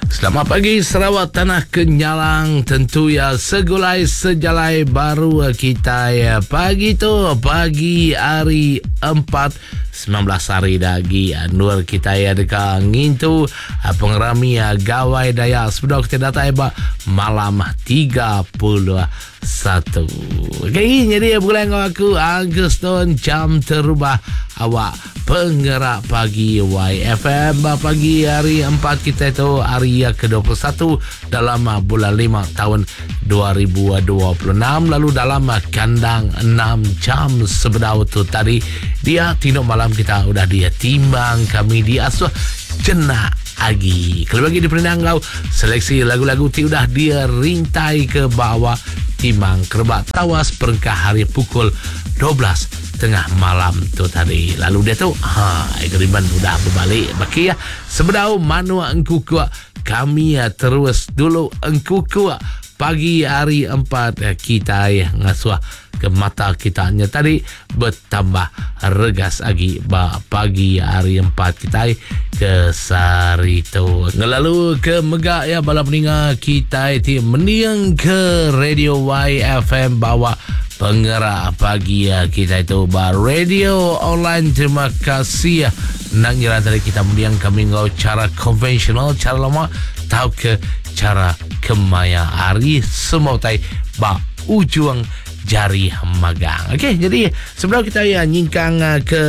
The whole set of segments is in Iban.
Selamat pagi Sarawak Tanah Kenyalang tentu ya segulai sejalai baru kita pagi tu pagi hari 4 19 hari lagi nur kita ya deka ngintu pengerami Gawai Dayak sebedau kita datai ba malam 31. Okey, jadi begulai enggau aku Uncle Stone jam terubah awak Pengerak Pagi YFM ba pagi hari 4 kita tu hari ke-21 dalam bulan 5 tahun 2026 lalu dalam kandang 6 jam sebedau tu tadi dia tinduk malam kita udah dia timbang kami diasuh jenak agi. Kelebih lagi diperindang enggau seleksi lagu-lagu ti udah dirintai ke bawah timang kerebak tawas perengkah hari pukul 12 tengah malam tu tadi. Lalu diatu, ha, agreement udah bebalik baki ya. Sebedau manuk engkukuk kami terus dulu engkukuk pagi hari 4 kitai ngasuh ke mata kita nya tadi betambah regas agi ba pagi hari 4 kitai ke sehari tu. Ngelalu ke mega ya bala peninga kitai ti mending ke Radio YFM bawa pengerak pagi kitai tu ba radio online. Terima kasih. Nang ngira tadi kita mending kami enggau cara konvensional, cara lama tau ke cara kemaya hari semua utai ba ujung jari magang. Okey, jadi sebelum kita ya nyingkang eh, ke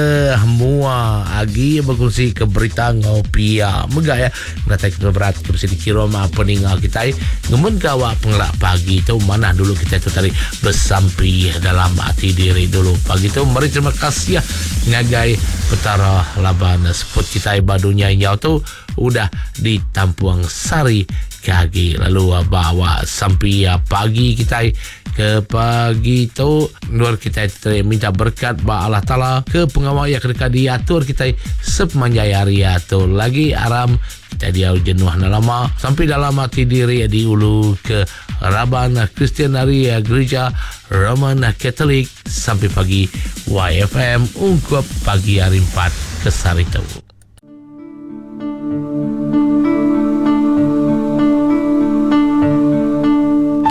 mua agi berkongsi ke berita ngau pia mega ya ngatai ke berat ke mesti dikirim apa ninga kita ngemun ke awak pengelak pagi tu mana dulu kita tu tadi bersampi dalam hati diri dulu pagi tu meri terima kasih ya ngagai petara laban seput kita ba dunia nyau tu udah ditampung sari ke agi lalu bawa sampi pagi kitai ke pagi tu endur kitai teri minta berkat ba Allah Taala ke pengawa iya ke deka diatur kitai sepemanjai hari tu lagi aram kitai diau jenuh enda lama sampi dalam ati diri diulu ke raban Kristian ari Gerija Roman Catholic sampai pagi YFM ungkup pagi hari 4 ke sehari tu.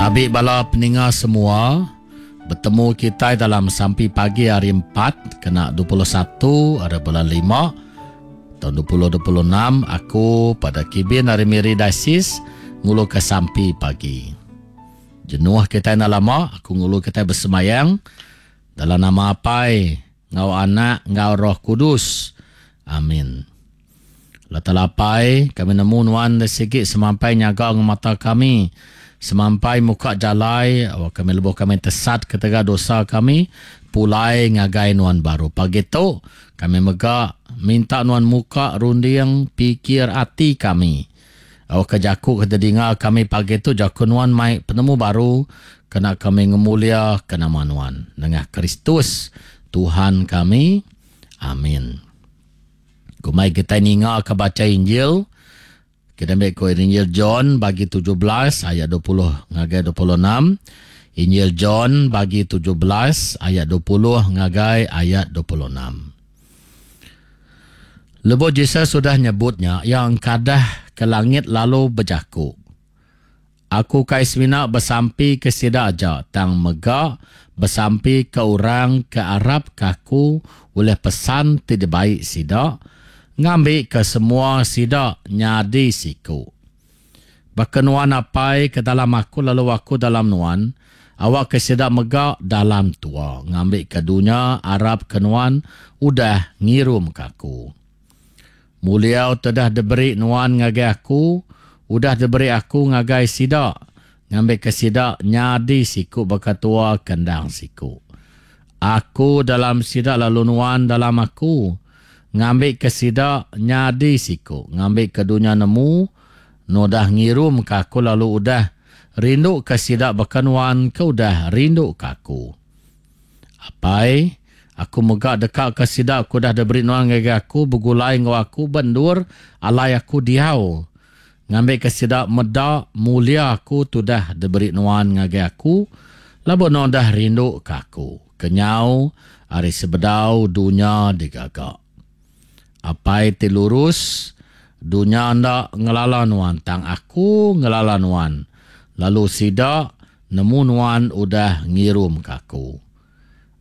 Tabi bala peninga semua, betemu kitai dalam sampi pagi hari empat kena 21 hari bulan lima taun 2026 aku pada Kibin ari Miri Diocese nguluka sampi pagi. Jenuh kitai enda lama aku ngulu kitai besembayang dalam nama Apai enggau Anak enggau Roh Kudus. Amin. Allah Taala Apai, kami nemu Nuan deh sigi semampai nyaga ngemata kami, semampai muka jalai awak kami lebuh kami tesat ketegal dosa kami pulai ngagai Nuan baru. Pagi tu, kami mega minta Nuan muka runding pikir ati kami. Awakka jaku ke didinga kami pagi tu jaku Nuan mai penemu baru kena kami ngemuliaka nama Nuan. Nengah Kristus, Tuhan kami. Amin. Kumbai kitai ninga ke bacha Injil, kita ambil ko Injil John bagi 17 ayat 20 ngagai 26. Injil John bagi 17 ayat 20 ngagai ayat 26. Lebuh Jesus udah nyebut nya, iya engkadah ke langit lalu bejaku, Aku ukai semina besampi ke sida aja, tang mega besampi ke orang ke arapka aku ulih pesan ti dibai sida, ngambika semua sida nyadi siku. Baka Nuan Apai ke dalam aku lalu aku dalam Nuan, awakka sida mega dalam tua, ngambika dunya arapka Nuan udah ngirumka aku. Muliau te dah diberi Nuan ngagai aku, udah diberi aku ngagai sida, ngambika sida nyadi siku baka tua ke endang siku. Aku dalam sida lalu Nuan dalam aku, ngambika sida nyadi siku, ngambika dunya nemu Nuan udah ngirumka aku lalu udah rinduka sida baka Nuan ke udah rinduka aku. Apai, aku mega dekaka sida ke udah diberi Nuan ngagai aku begulai enggau aku ba endur alai aku diau, ngambika sida meda mulia aku ti udah diberi Nuan ngagai aku, laban Nuan udah rinduka aku kenyau ari sebedau dunya digaga. Apai ti lurus. Dunya enda ngelala Nuan, tang Aku ngelala Nuan, lalu sida nemu Nuan udah ngirumka Aku.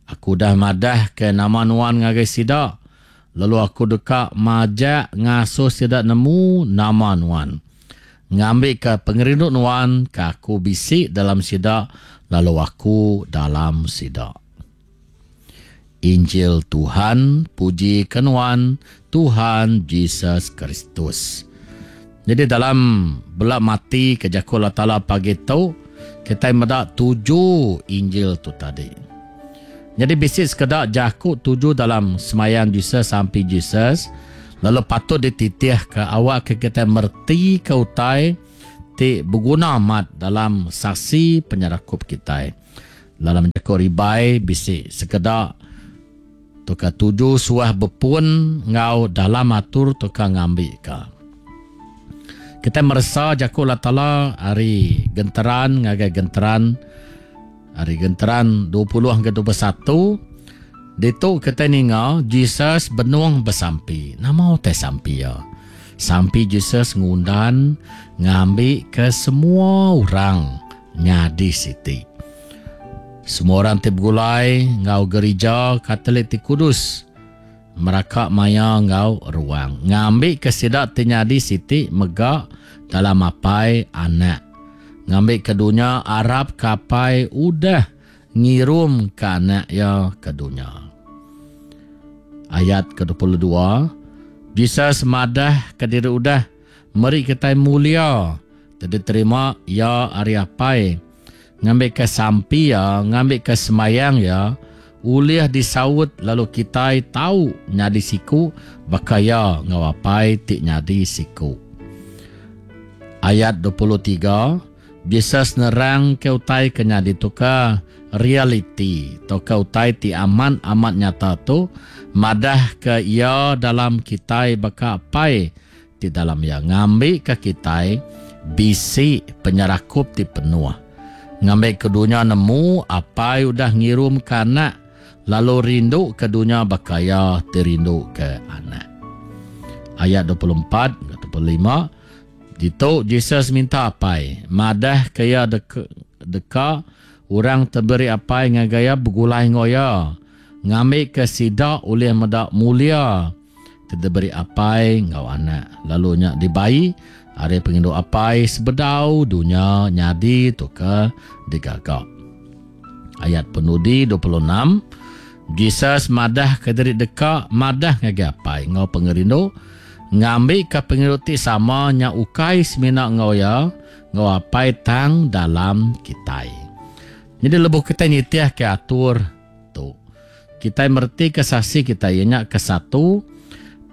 Aku udah madahka nama Nuan ngagai sida, lalu Aku deka majak ngasuh sida nemu nama Nuan, ngambika pengerindu Nuan ke Aku bisi dalam sida lalu Aku dalam sida. Injil Tuhan, puji ke Nuan, Tuhan Jesus Kristus. Jadi dalam bela mati ke jaku Allah Taala pagi tu, kitai meda tuju Injil tu tadi. Jadi bisi sekeda jaku tuju dalam semayang Jesus sampi Jesus lalu patut dititih ke awak ke kitai mereti ke utai ti beguna amat dalam saksi penyerakup kitai. Dalam jaku ribai bisi sekeda tauka tuju suah bepun enggau dalam atur tauka ngambika. Kitai meresa jaku Allah Taala ari genteran ngagai genteran ari genteran 20 ngagai 21 ditu kitai ninga Jesus benung besampi. Nama utai sampi iya? Sampi Jesus ngundan ngambika semua orang nyadi siti. Semua orang ti begulai enggau gerija Katolik ti kudus meraka maya enggau ruang ngambika sida ti nyadi siti mega dalam Apai, Anak, ngambika dunya arapka Apai udah ngirumka Anak Iya ke dunya. Ayat ke 22, Jesus madahka diri udah meri kitai mulia ti diterima iya ari Apai, ngambika sampi iya, ngambika sembayang iya ulih disaut lalu kitai tau nyadi siku baka iya enggau Apai ti nyadi siku. Ayat 23, Jesus nerangka utai ke nyadi tu ke realiti tauka utai ti amat-amat nyata tu madahka iya dalam kitai baka Apai ti dalam iya ngambika kitai bisi penyerakup ti penuh, ngambika dunya nemu Apai udah ngirumka Anak lalu rinduka dunya baka Iya ti rinduka Anak. Ayat 24 enggau 25, Ditu Jesus minta Apai madahka Iya deka, deka orang ti beri Apai ngagai Iya begulai enggau Iya, ngambika sida ulih meda mulia ti diberi apai enggau anak lalu nya dibai ari pengindu apai sebedau dunya nyadi tauka digaga. Ayat penudi 26, Jesus madahka diri deka madah ngagai apai enggau pengerindu ngambika pengerindu ti sama nya ukai semina enggau iya enggau apai tang dalam kitai. Nyadi lebuh kitai nitihka atur tu. Kitai meretika saksi kitai iya nya kesatu,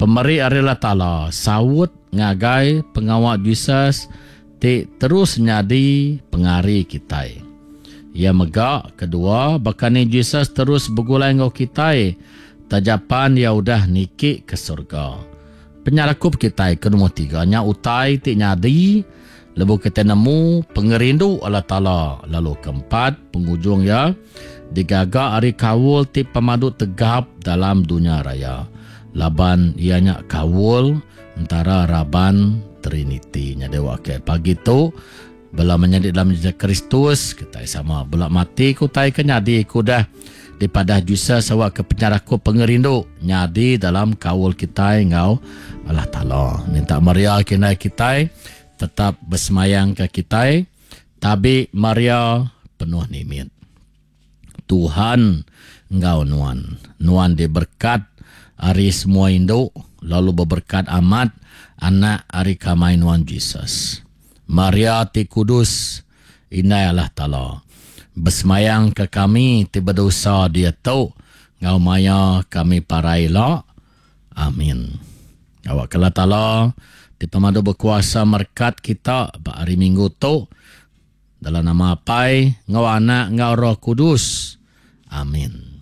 pemeri ari Allah Taala saut ngagai pengawa Jesus ti terus nyadi pengari kitai. Iya mega, kedua, baka ni Jesus terus begulai enggau kitai taja pan iya udah niki ke surga. Penyerakup kitai ke nombor tiga nya utai ti nyadi lebuh kitai nemu pengerindu Allah Taala lalu keempat, pengujung iya, digaga ari kaul ti pemadu tegap dalam dunya raya laban iya nya kaul entara raban Triniti. Nyadi wak ke pagi tu bala menyadi dalam Jesus Kristus kitai sama bela mati ke utai ke nyadi ke udah dipadah Jesus awak ke penyerakup pengerindu nyadi dalam kaul kitai enggau Allah Taala. Minta Maria ke indai kitai tetap besemayang ke kitai. Tabi Maria penuh nimit. Tuhan enggau nuan. Nuan diberkat ari semua indu lalu beberkat amat anak ari kamai nuan Jesus. Maria ti kudus, Indai Allah Taala, besemayang ke kami ti bedosa diatu enggau maya kami parai ila. Amin. Awakka Allah Taala ti pemadu bekuasa merekat kita ba hari Minggu tu dalam nama Apai enggau Anak enggau Roh Kudus. Amin.